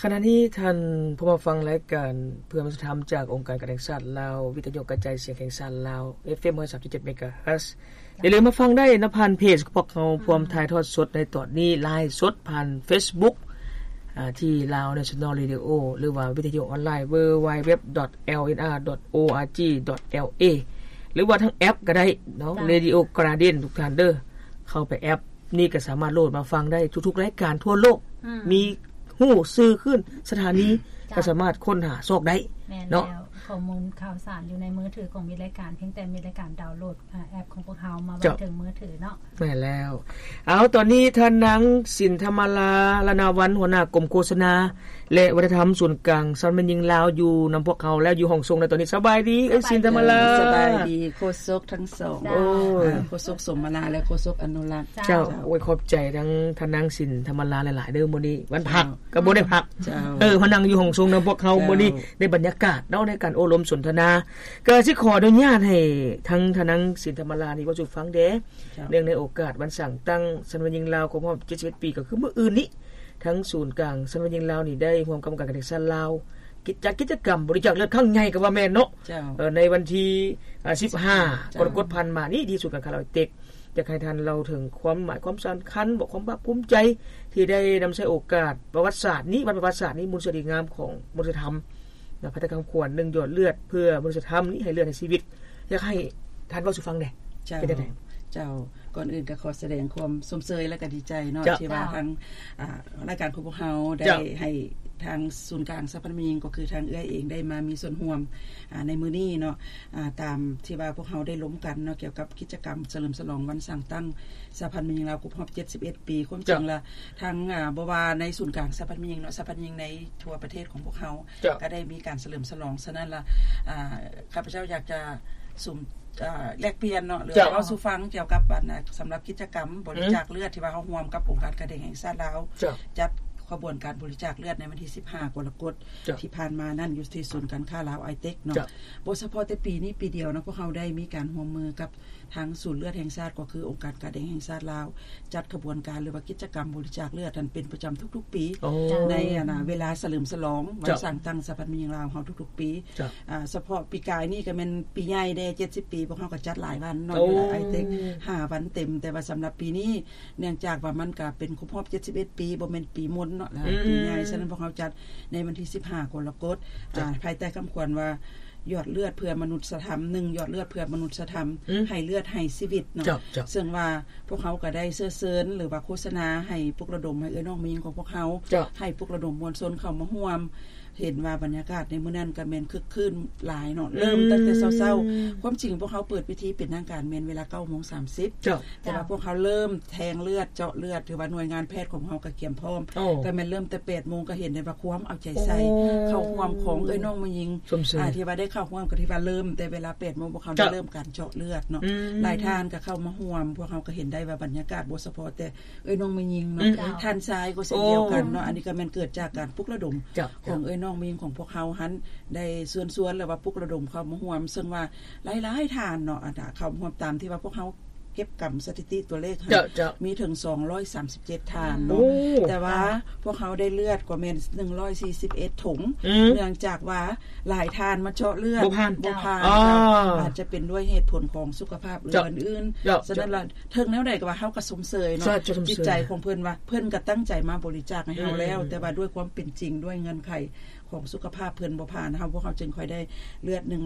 ຂະນະນີ້ທ່ານຜູ້ມາຟັງລາຍການເພື່ອມະນຸດທຳຈາກອົງການການແຫ່ງຊາດລາວ, ວິທະຍຸກະຈາຍສຽງແຫ່ງຊາດລາວ, ເອັຟເອັມ ຮ້ອຍສາມຈຸດເຈັດ ເມກາເຮີດ. ຢ່າລືມມາຟັງໄດ້ນຳຜ່ານເພຈຂອງພວກເຮົາ ອືມ ພ້ອມຖ່າຍທອດສົດໃນຕອນນີ້ ລາຍສົດຜ່ານເຟສບຸກ ອາ ທີ່ Lao National Radio ຫຼືວ່າວິທະຍຸອອນລາຍ www.lnr.org.la ຫຼືວ່າທາງແອັບກໍໄດ້ເນາະ ເຈົ້າ Radio Garden ທຸກທ່ານເດີ ເຂົ້າໄປແອັບ ນີ້ກໍສາມາດໂຫຼດມາຟັງໄດ້ທຸກໆລາຍການທົ່ວໂລກ ອືມ ມີຮູ້ຊື່ຂຶ້ນສະຖານີ ເຈົ້າ ກໍສາມາດຄົ້ນຫາຊອກໄດ້ ແມ່ນ ເນາະ ແລ້ວ ຂໍ້ມູນຂ່າວສານຢູ່ໃນມືຖືຂອງມິດລາຍການ ພຽງແຕ່ມິດລາຍການດາວໂຫຼດ ອາ ແອັບຂອງພວກເຮົາມາໄວ້ ເຈົ້າ ເຖິງມືຖືເນາະ ແມ່ນແລ້ວ. ເອົາ ຕອນນີ້ທ່ານນາງ ສິນທຳມາລາ ລະນາວັນ ຫົວໜ້າກົມໂຄສະນາ ແລະ ວັດທະນະທຳສູນກາງສະຫະພັນແມ່ຍິງລາວ ຢູ່ນຳພວກເຮົາແລ້ວ ຢູ່ຫ້ອງສົ່ງໃນຕອນນີ້. ສະບາຍດີ ເອື້ອຍສິນທຳມາລາ. ສະບາຍດີໂຄສົກທັງສອງ. ເຈົ້າ. ໂອ້ຍ ໂຄສົກສົມມາລາ ແລະ ໂຄສົກອະນຸລັກ. ເຈົ້າ. ເຈົ້າ. ໂອ້ຍ ຂອບໃຈທັງທ່ານນາງສິນທຳມາລາຫຼາຍໆເດີ ມື້ນີ້ວັນພັກ ເຈົ້າ ກໍບໍ່ໄດ້ພັກ. ເຈົ້າ. ເອີ ມານັ່ງຢູ່ຫ້ອງສົ່ງນຳພວກເຮົາ ເຈົ້າ ມື້ນີ້ ໄດ້ບັນຍາກາດເນາະ ໃນການໂອ້ລົມສົນທະນາ. ກໍຊິຂໍອະນຸຍາດໃຫ້ທັງທ່ານນາງສິນທຳມາລານີ້ເວົ້າສູ່ຟັງແດ່. ເນື່ອງໃນໂອກາດວັນສ້າງຕັ້ງສະຫະພັນແມ່ຍິງລາວຄົບຮອບເຈັດສິບເອັດປີ ກໍຄືມື້ອື່ນນີ້ ທາງສູນກາງສະຫະພັນແມ່ຍິງລາວນີ້ໄດ້ຮ່ວມກັບອົງການການແຫ່ງຊາດລາວ ຈັດກິດຈະກຳບໍລິຈາກເລືອດຄັ້ງໃຫຍ່ກໍວ່າແມ່ນເນາະ. ເຈົ້າ. ເອີ ໃນວັນທີ ອາ ສິບຫ້າ ເຈົ້າ ກໍລະກົດຜ່ານມານີ້ ທີ່ສູນກາງຄ້າລາວໄອເຕັກ ຢາກໃຫ້ທ່ານເລົ່າເຖິງຄວາມໝາຍຄວາມສຳຄັນ ບອກຄວາມພາກພູມໃຈທີ່ໄດ້ນຳໃຊ້ໂອກາດປະຫວັດສາດນີ້ ວັນປະຫວັດສາດນີ້ ມູນສະດີງາມຂອງມະນຸດທຳ ນະ ພາຍໃຕ້ຄຳຂວັນ ໜຶ່ງ ຢອດເລືອດເພື່ອມະນຸດທຳນີ້ ໃຫ້ເລືອດໃຫ້ຊີວິດ. ຢາກໃຫ້ທ່ານເວົ້າສູ່ຟັງແດ່. ເຈົ້າ. ເປັນຈັ່ງໃດ? ເຈົ້າ. ກ່ອນອື່ນກໍຂໍສະແດງຄວາມຊົມເຊີຍ ແລະ ກໍດີໃຈເນາະ ເຈົ້າ ທີ່ວ່າ ເຈົ້າ ທາງ ອາ ລາຍການຂອງພວກເຮົາໄດ້ ເຈົ້າ ໃຫ້ທາງສູນກາງສະຫະພັນແມ່ຍິງ ກໍຄືທາງເອື້ອຍເອງໄດ້ມາມີສ່ວນຮ່ວມ ອາ ໃນມື້ນີ້ເນາະ ອາ ຕາມທີ່ວ່າພວກເຮົາໄດ້ລົມກັນເນາະ ກ່ຽວກັບກິດຈະກຳສະເຫຼີມສະຫຼອງວັນສ້າງຕັ້ງສະຫະພັນແມ່ຍິງລາວຄົບຮອບເຈັດສິບເອັດປີ. ຄວາມຈິງລະ ທາງ ອາ ບໍ່ວ່າໃນສູນກາງສະຫະພັນແມ່ຍິງເນາະ ສະຫະພັນແມ່ຍິງໃນທົ່ວປະເທດຂອງພວກເຮົາ ເຈົ້າ ກໍໄດ້ມີການສະເຫຼີມສະຫຼອງ. ສະນັ້ນລະ ອາ ຂ້າພະເຈົ້າຢາກຈະສຸມ ອາ ແລກປ່ຽນເນາະ ຫຼື ເຈົ້າ ເວົ້າສູ່ຟັງກ່ຽວກັບ ອັນ ສຳລັບກິດຈະກຳບໍລິຈາກເລືອດ ອືມ ທີ່ວ່າເຮົາຮ່ວມກັບອົງການການແຫ່ງຊາດລາວ ເຈົ້າ ຈັດຂະບວນການບໍລິຈາກເລືອດໃນວັນທີສິບຫ້າ ກໍລະກົດ ເຈົ້າ ທີ່ຜ່ານມານັ້ນ ຢູ່ທີ່ສູນການຄ້າລາວໄອເຕັກເນາະ. ເຈົ້າ. ບໍ່ສະເພາະແຕ່ປີນີ້ປີດຽວເນາະ ພວກເຮົາໄດ້ມີການຮ່ວມມືກັບ ທາງສູນເລືອດແຫ່ງຊາດ ກໍຄືອົງການການແດງແຫ່ງຊາດລາວ ຈັດຂະບວນການ ຫຼືວ່າກິດຈະກຳບໍລິຈາກເລືອດຫັ້ນເປັນປະຈຳທຸກໆປີ ໂອ້ ໃນ ອັນນະ ເວລາສະເຫຼີມສະຫຼອງວັນ ເຈົ້າ ສ້າງຕັ້ງສະຫະພັນແມ່ຍິງລາວເຮົາທຸກໆປີ. ເຈົ້າ. ອາ ສະເພາະປີກາຍນີ້ກໍແມ່ນປີໃຫຍ່ແດ່ ເຈັດສິບປີ ພວກເຮົາກໍຈັດຫຼາຍວັນເນາະ ໂອ້ ຢູ່ໃນໄອເຕັກ ຫ້າວັນເຕັມ. ແຕ່ວ່າສຳລັບປີນີ້ ເນື່ອງຈາກວ່າມັນກໍເປັນຄົບຮອບເຈັດສິບເອັດປີ ບໍ່ແມ່ນປີມົນເນາະ ອືມ ປີໃຫຍ່ ສະນັ້ນພວກເຮົາຈັດໃນວັນທີສິບຫ້າ ກໍລະກົດ ເຈົ້າ ອາ ພາຍໃຕ້ຄຳຂວັນວ່າ ຢອດເລືອດເພື່ອມະນຸດສະທຳ ໜຶ່ງ ຢອດເລືອດເພື່ອມະນຸດສະທຳ ອືມ ໃຫ້ເລືອດໃຫ້ຊີວິດເນາະ. ເຈົ້າ ເຈົ້າ. ເຊິ່ງວ່າພວກເຮົາກໍໄດ້ເຊີນເຊີນ ຫຼືວ່າໂຄສະນາໃຫ້ປຸກລະດົມໃຫ້ເອື້ອຍນ້ອງແມ່ຍິງຂອງພວກເຮົາ ເຈົ້າ ໃຫ້ປຸກລະດົມມວນຊົນເຂົ້າມາຮ່ວມ. ເຫັນວ່າບັນຍາກາດໃນມື້ນັ້ນກໍແມ່ນຄຶກຄື້ນຫຼາຍເນາະ ອືມ ເລີ່ມຕັ້ງແຕ່ເຊົ້າໆ. ຄວາມຈິງພວກເຮົາເປີດພິທີເປັນທາງການແມ່ນເວລາເກົ້າໂມງສາມສິບ ເຈົ້າ ແຕ່ວ່າ ເຈົ້າ ພວກເຮົາເລີ່ມແທງເລືອດ ເຈາະເລືອດ ຖືວ່າໜ່ວຍງານແພດຂອງເຮົາກໍກຽມພ້ອມ ໂອ້ ກໍແມ່ນເລີ່ມແຕ່ແປດໂມງ ກໍເຫັນໄດ້ວ່າຄວາມເອົາໃຈໃສ່ ໂອ້ ເຂົ້າຮ່ວມຂອງເອື້ອຍນ້ອງແມ່ຍິງ ຊົມເຊີຍ ອາ ທີ່ວ່າໄດ້ເຂົ້າຮ່ວມ ກໍທີ່ວ່າເລີ່ມແຕ່ເວລາແປດໂມງ ພວກເຮົາ ເຈົ້າ ໄດ້ເລີ່ມການເຈາະເລືອດເນາະ ອືມ ຫຼາຍທ່ານກໍເຂົ້າມາຮ່ວມ. ພວກເຮົາກໍເຫັນໄດ້ວ່າບັນຍາກາດບໍ່ສະເພາະແຕ່ເອື້ອຍນ້ອງແມ່ຍິງເນາະ ອືມ ທ່ານຊາຍກໍເຊັ່ນດຽວກັນເນາະ ໂອ້ ອັນນີ້ກໍແມ່ນເກີດຈາກການປຸກລະດົມ ເຈົ້າ ຂອງເອື້ອຍນ້ອງແມ່ຍິງຂອງພວກເຮົາຫັ້ນ ໄດ້ເຊີນຊວນ ຫຼືວ່າປຸກລະດົມເຂົ້າມາຮ່ວມ ເຊິ່ງວ່າ ຫຼາຍໆທ່ານເນາະ ອັນນະ ເຂົ້າຮ່ວມຕາມທີ່ວ່າພວກເຮົາເກັບກຳສະຖິຕິຕົວເລກຫັ້ນ ເຈົ້າ ເຈົ້າ ມີເຖິງສອງຮ້ອຍສາມສິບເຈັດທ່ານເນາະ ໂອ້ ແຕ່ວ່າ ເຈົ້າ ພວກເຮົາໄດ້ເລືອດກວ່າແມ່ນໜຶ່ງຮ້ອຍສີ່ສິບເອັດຖົງ ອືມ ເນື່ອງຈາກວ່າຫຼາຍທ່ານມາເຈາະເລືອດ ບໍ່ຜ່ານ ບໍ່ຜ່ານ ອໍ ເຈົ້າ ອາດຈະເປັນດ້ວຍເຫດຜົນຂອງສຸຂະພາບ ຫຼື ເຈົ້າ ອື່ນໆ ເຈົ້າ ສະນັ້ນລະ ເຖິງແນວໃດກໍວ່າເຮົາກໍຊົມເຊີຍເນາະ ເຈົ້າ ຊົມເຊີຍ ຈິດໃຈຂອງເພິ່ນວ່າ ເພິ່ນກໍຕັ້ງໃຈມາບໍລິຈາກໃຫ້ເຮົາແລ້ວ ອືມ ແຕ່ວ່າດ້ວຍຄວາມເປັນຈິງ ດ້ວຍເງື່ອນໄຂຂອງສຸຂະພາບເພິ່ນບໍ່ຜ່ານ ເຮົາ ພວກເຮົາຈຶ່ງຄ່ອຍໄດ້ເລືອດໜຶ່ງ